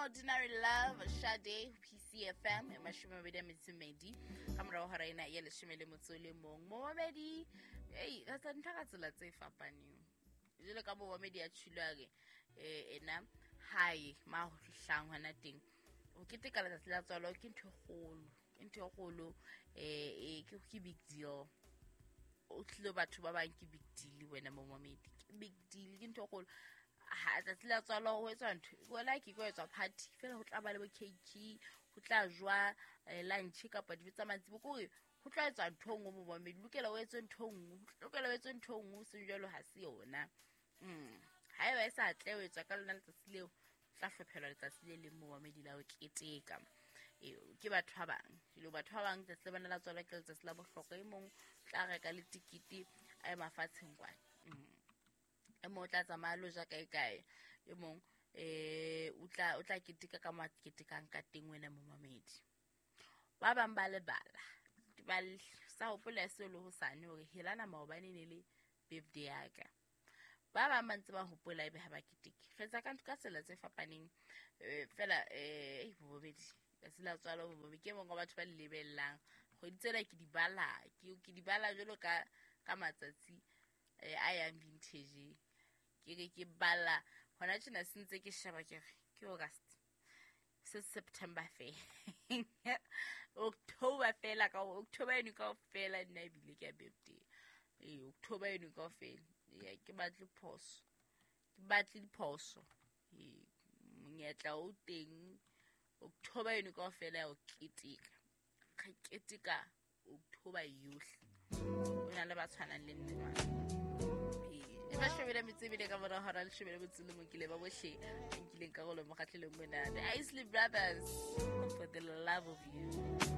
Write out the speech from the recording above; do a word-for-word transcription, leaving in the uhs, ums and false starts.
Ordinary Love, Sade, P C F M, e mashome a mabedi a metso e mmedi ka morao hora ena ya leshome le motso o le mong. Momamedi, ei, re tsa ntho ka tsela tse fapaneng. Jwalo ka momamedi ya tjhilo a re, eh, ena hae ma ho hlang hona teng. O keteka letsatsi la tswalo ke ntho e kgolo, ke ntho e kgolo, eh, eh, ke, ke big deal. O tlilo batho ba bang ke big deal wena momamedi, ke big deal, ke ntho e kgolo. Ha tsatsi la tswalo ho etswa ntho, wena ke ko etswa party fela, ho tla ba le bo cake, ho tla jwa, eh, lunch kapa dijo tsa mantsiboya, ke hore ho tla etswa ntho e nngwe momamedi, lokela o etse ntho e nngwe, ho lokela o etse ntho e nngwe, seng jwalo ha se yona. Mm. Haeba e sa tle ho etswa ka lona letsatsi leo, tla hlophelwa letsatsi le leng momamedi la ho keteka. Ee, ke batho ba bang. Jwale batho ba bang letsatsi la bona la tswalo ke letsatsi la bohlokwa. E mong tla reka le tikete a ye mafatsheng kwana. Mm. E mong o tla tsamaya lo ja kae kae. E mong, eh, o tla, o tla keteka ka mo a ketekang ka teng wena momamedi. Ba bang ba lebala. Ba l-, sa hopola seo le hosane hore helana maobane e ne le birthday ya ka. Ba bang ba ntse ba hopola ebe ha ba keteke. Re etsa ka ntho ka tsela tse fapaneng. Eh, fela, eh, ei, bobedi. Letsatsi la tswalo bobedi. Ke mong wa batho ba le lebellang. Kgwedi tsena ke di bala, ke, ke di bala jwalo ka, ka matsatsi, eh, a yang vintage. Ke re ke bala hona tjena se ntse ke sheba ke re ke August, se September fela. October fela, ka October eno kaofela nna ebile ke ya birthday. Ee, October eno kaofela. Ee, ke batle phoso, ke batle diphoso. Ee, monyetla o teng October eno kaofela ya ho keteka. Re keteka October yohle. O na le ba tshwanang le nna jwang. Ee, e mashome a metso e mene ka mora hora leshome le motso o le mong ke le ba bohle ba nkileng karolo mokgahlelong mona. The Isley Brothers, For the Love of You.